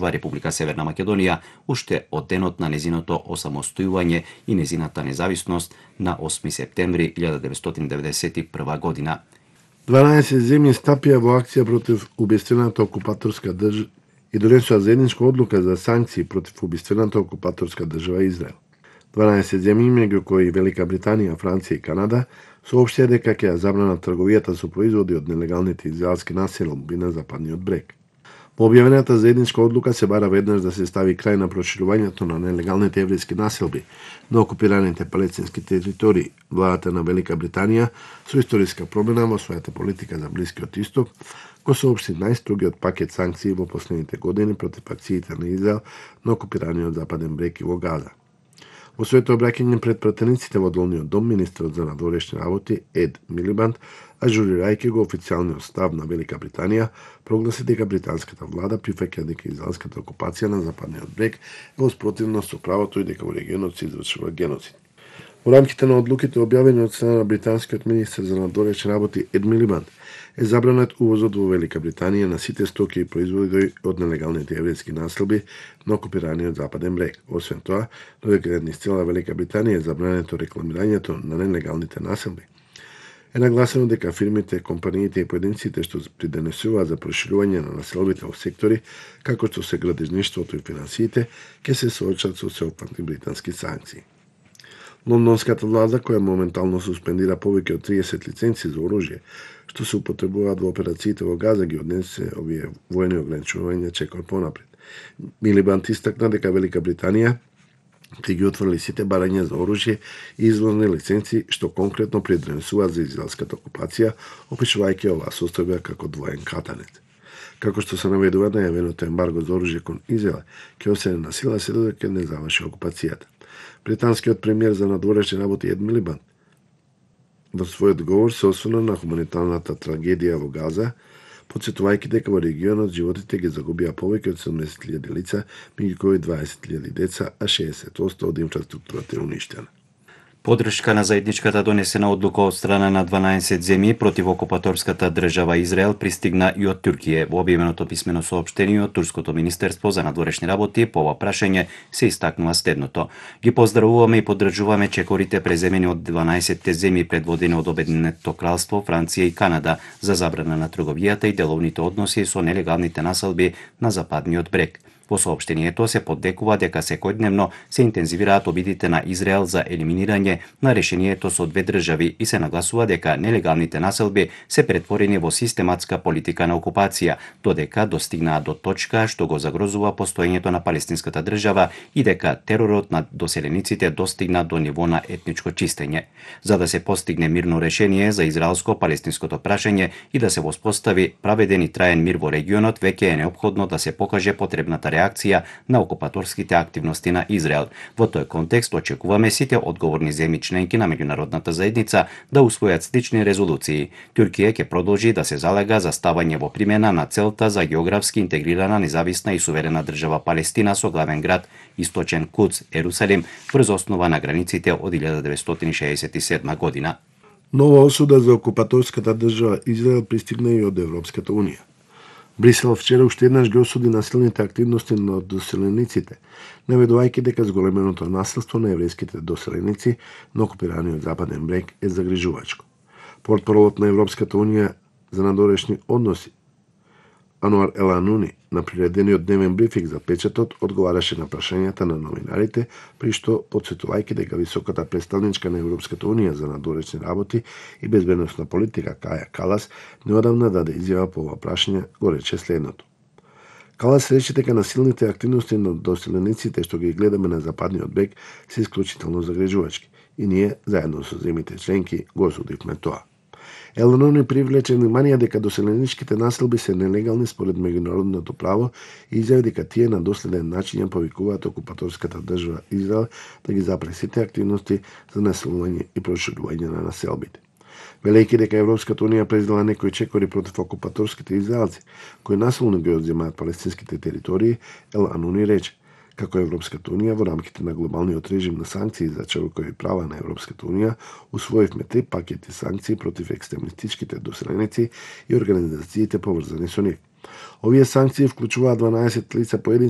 Република Северна Македонија уште од денот на незиното осамостојување и незината независност на 8 септември 1991 година. 12 земји стапија во акција против убиствената окупаторска држава и донесоа заедничка одлука за санкции против убиствената окупаторска држава Израел. 12 земји, меѓу кои Велика Британија, Франција и Канада, соопштија дека ќе забранат трговијата со производи од нелегалните израелски населби на Западниот брег. Во објавената заедничка одлука се бара веднаш да се стави крај на проширувањето на нелегалните еврејски населби на окупираните палестински територии. Владата на Велика Британија со историска промена во својата политика за Блискиот Исток го соопшти најстрогиот пакет санкции во последните години против акциите на Израел на окупираниот Западен брег и во Газа. Во своето обраќање пред пратениците во Долниот дом, министерот за надворешни работи Ед Милибанд, ажурирајќи го официјалниот став на Велика Британија, прогласи дека британската влада прифаќа дека израелската окупација на Западниот брег е во спротивност со правото и дека во регионот се извршува геноцид. Во рамките на одлуките објавени од страна на британскиот министер за надворешни работи Ед Милибанд, е забранет увозот во Велика Британија на сите стоки и производи од нелегалните еврејски населби на окупираниот Западен брег. Освен тоа, додека низ цела Велика Британија е забрането рекламирањето на нелегалните населби, е нагласено дека фирмите, компаниите и поединците што придонесуваат за проширување на населбите во сектори како што се градежништвото и финансиите, ќе се соочат со сеопфатни британски санкции. Лондонската влада, која моментално суспендира повеќе од 30 лиценци за оружје, што се употребуваат во операциите во Газа, ги однесе овие воени ограничувања чекор понапред. Милибанд истакна дека Велика Британија ќе ги отворили сите барања за оружје и извозни лиценци што конкретно придонесуваат за израелската окупација, опишувајќи оваа состојба како двоен катанет. Како што се наведува, најавеното ембарго за оружје кон Израел ќе остане на сила се додека не заврши окупацијата. Британскиот премиер за надворешни работи Ед Милибанд во својот говор се осврна на хуманитарната трагедија во Газа, потсетувајќи дека во регионот животите ги загубија повеќе од 70.000 лица, меѓу кои 20.000 деца, а 60% од инфраструктурата е уништена. Поддршка на заедничката донесена одлука од страна на 12 земји против окупаторската држава Израел пристигна и од Туркија. Во објавеното писмено соопштение од Турското министерство за надворешни работи по ова прашање се истакнува следното: ги поздравуваме и поддржуваме чекорите преземени од 12 земји предводени од Обединетото кралство, Франција и Канада за забрана на трговијата и деловните односи со нелегалните населби на Западниот брег. Во соопштението се поддекува дека секојдневно се интензивираат обидите на Израел за елиминирање на решението со две држави и се нагласува дека нелегалните населби се претворени во систематска политика на окупација, додека достигнаат до точка што го загрозува постоењето на палестинската држава и дека теророт над доселениците достигна до ниво на етничко чистење. За да се постигне мирно решение за израелско-палестинското прашање и да се воспостави праведен и траен мир во регионот, веќе е неопходно да се покаже потребната реакција на окупаторските активности на Израел. Во тој контекст очекуваме сите одговорни земји членки на меѓународната заедница да усвојат слични резолуции. Туркија ќе продолжи да се залага за ставање во примена на целта за географски интегрирана, независна и суверена држава Палестина со главен град Источен Кудс, Ерусалим, врз основа на границите од 1967 година. Нова осуда за окупаторската држава Израел пристигна и од Европската унија. Брисел вчера уште еднаш ги осуди насилните активности на доселениците, наведувајќи дека зголеменото насилство на еврејските доселеници на окупираниот Западен брег е загрижувачко. Портпаролот на Европската унија за надворешни односи Ануар Елануни на приредениот дневен брифинг за печатот одговараше на прашањата на новинарите, при што потсетувајќи дека високата представничка на Европската унија за надворешни работи и безбедносна политика Каја Калас неодамна даде изјава по ова прашање, го рече следното. Калас рече дека насилните активности на доселениците што ги гледаме на Западниот брег се исклучително загрижувачки и ние, заедно со земјите членки, го осудивме тоа. Елануни привлече внимание дека доселеничките населби се нелегални според меѓународното право и изјави дека тие на доследен начин ја повикуваат окупаторската држава Израел да ги запре сите активности за населување и проширување на населбите. Велејќи дека Европската унија презела некои чекори против окупаторските израелци, кои насилно ги одземаат палестинските територии, Елануни рече како Европската унија во рамките на глобалниот режим на санкции за човекови права на Европската унија усвоивме 3 пакети санкции против екстремистичките доселеници и организациите поврзани со нив. Овие санкции вклучуваат 12 лица поединци